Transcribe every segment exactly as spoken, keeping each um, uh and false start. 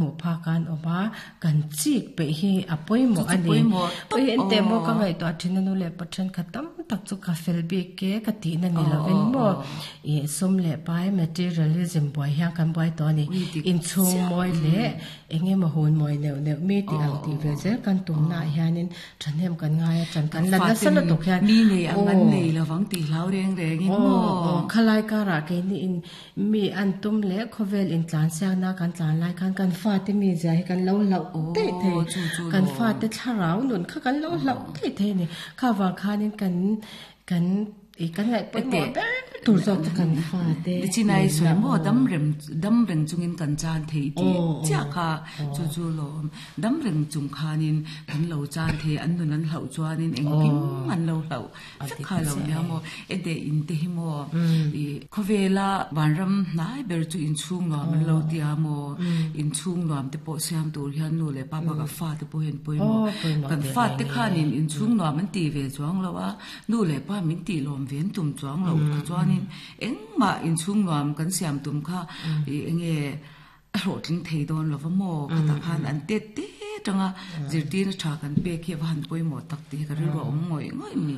Hmuh phak an awm a, kan chik peih hi a pawimawh a ni. Ui engteh maw ka ngaihtuah thin a nu leh pa thenkhat tam tak chu ka fel bik e ka tihna ni lovin maw ih sum leh pai materialism buai hian kan buai tawh a ni. Inchhung mawi leh eng emaw hun mawi neuh neuh mi tih ang tih ve zel kan tumna ah hianin thahnem kan ngai a, chan kan la nasa lutuk hian aw aw khalai karah keini mi an tum leh khawvel intlan siakna kan tlan lai khan kan fate mi zia hi kan lo hlauh daih thei, kan fate thlarau nun kha kan lo hlauh daih thei a ni. Kha vang khanin kan kan ih kan ngaih pawimawh ber tur zawk chu kan fate Nichinai sawi maw dam rem dam reng chungin kan chan thei tih chiah kha chu chu lawm dam reng chung khanin kan lo chan thei an nun an hlauh chuanin engkim an lo hlauh vek kha lo nia maw ente in te hi maw ih khawvela vanram hnai ber chu inchhung nuam an lo tia maw inchhung nuam te pawh siam tur hian nu leh pa bakah fa te pawh hian pawimawh kan fa te khanin inchhung nuam an tih ve chuang lo a nu leh pa min tih lawm ve an tum chuang lo kha chuanin engmah inchhung nuam kan siam tum kha ih enge a hlawhtling thei dawn lo va maw khatah khan an tet te tanga zirtirna tha kan pek hi a va han pawimawh tak tih hi ka rilru a awm ngawih ngawih a ni.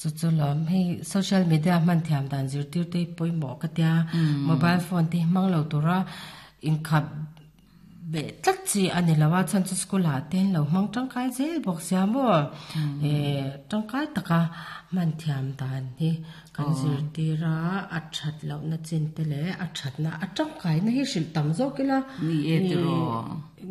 Chu chu lawm hei social media hman thiam dan zirtir te hi pawimawh ka tia mobile phone te hi hmang lo tura inkhap beh tlat chi a ni lo a chhan chu school ah te an lo hmang tangkai zel bawk sia maw eh tangkai taka hman thiam dan hi kan zirtir a a that lohna chin te leh a thatna a tangkaina hi hrilh tam zawk ila Ni e tiraw.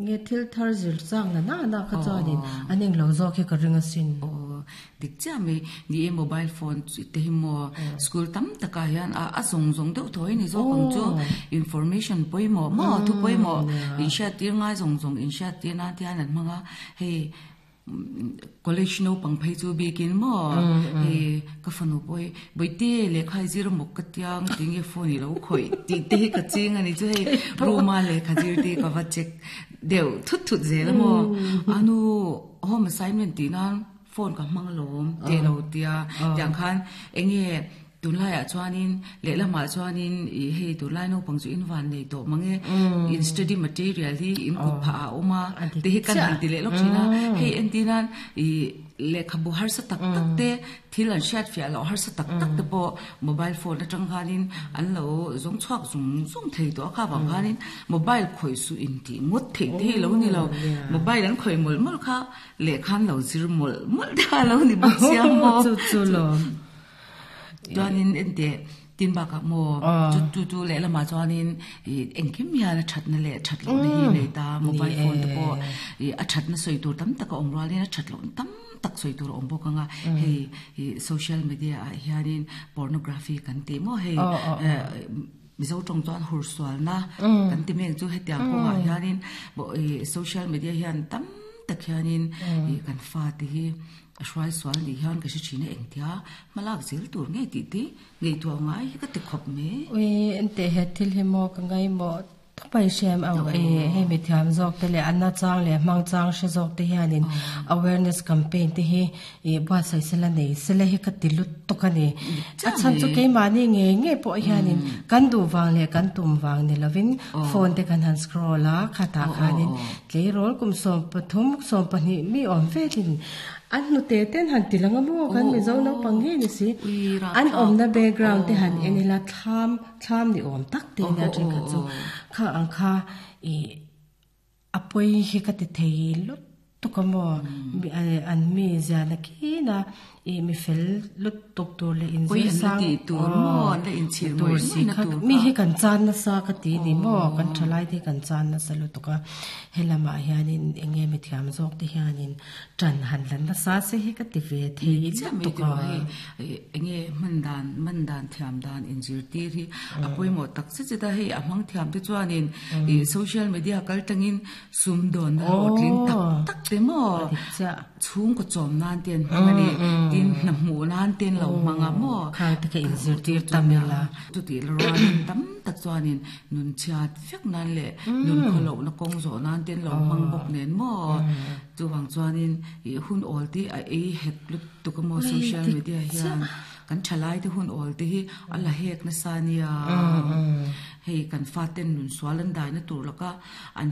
Nge thil thar zir chang na na na kha chuanin an englo zawk hi ka ring asin. Aw dik chiah mai ni e mobile phone chu te hi maw school tam takah hian a a zawng zawng deuh thaw hi ni zawk ang chu information pawimawh maw thu pawimawh inhriat tir ngai zawng zawng inhriat tir nan te hian an hmang a hei college naupang phei chu bikin maw hei ka fanu pawh hi bawihte lehkha i zir mawk ka tia tinge phone i lo khawih tih te hi ka ching a ni chu hei room a lehkha zir te hi ka va check deuh thut thut zel a maw a nu home assignment tih nan phone ka hmang alawm tih lo tia tiang khan enge tunlaiah chuanin lehlamah chuanin ih hei tunlai naupang chu in van nei tawh mange in study material hi in kut phah ah a awm a te hi kan han ti leh lawk thin a hei entir nan ih lehkhabu harsa tak tak te thil an hriat fiah loh harsa tak tak te pawh mobile phone atang khanin an lo zawng chhuak zung zung thei tawh a kha vang khanin mobile khawih suh in tih ngawt theih te hi lo ni lo mobile an khawih mawlh mawlh kha lehkha an lo zir mawlh mawlh te kha a lo ni bawk sia maw Chu chu lawm. Chuanin enteh tin bakah maw chu chu chu lehlamah chuanin ih engkim hian a thatna leh that lohna hi nei ta mobile phone te pawh ih a thatna sawi tur tam tak a awm rualin a that lohna tam tak sawi tur a awm bawk ang a hei ih social media ah hianin pornography kan tih maw hei eh Mizo tawng chuan hur sualna kan ti mek chu hetiang kawngah hianin ih social media hian tam tak hianin ih kan fate hi a hruai sual nih hian ka hre thin a engtia hmalak zel tur ngei tih te ngaihtuah ngai hi ka ti khawp mai. Ui enteh he thil hi maw ka ngaimawh tawp a i hriam ang e hei mithiam zawk te leh a na chang leh hmang chang hre zawk te hianin awareness campaign te hi ih buatsaih sela nei sela hi ka ti lut tawk a ni. A chhan chu keimahni ngei ngei pawh hianin kan duh vang leh kan tum vang ni lovin phone te kan han scroll a khatah khanin tleirawl kum sawm pathum sawm pahnih mi awm velin an hnute ten han ti lang a maw kan Mizo naupang ngei ni si an awmna background te han en ila thlam thlam ni awm tak te nia thenkhat chu kha ang kha ih a pawi hi ka ti thei lut tuk a maw an mi ziahna kina ih mi fel lut tuk tur leh inzir sang tur si kha mi hi kan chan nasa ka ti ni maw kan thalai te hi kan chan nasa lutuk a helamah hianin eng nge mi thiam zawk te hianin tan han la nasa se hi ka ti ve thei lutuk a. Eng nge hman dan man dan thiam dan inzirtir hi a pawimawh tak zet zet a hei a hmang thiam te chuanin ih social media kal tangin sumdawnna hlawhtling tak tak te maw chhungkaw chawm nan te an hmang a ni tin hna hmuh nan te an lo hmang a maw khang te kha inzirtir tam ila chutih la rualin tam tak chuanin nun chhiat vek nan leh nun khawlohna kawng zawh nan te an lo hmang bawk nen maw chuvang chuanin ih hun awl te a ei hek lutuk a maw social media hian Kan thalai te hun ol te hi ala hek na sa nia. Hei kan fa ten nun swalan dai na tur laka an.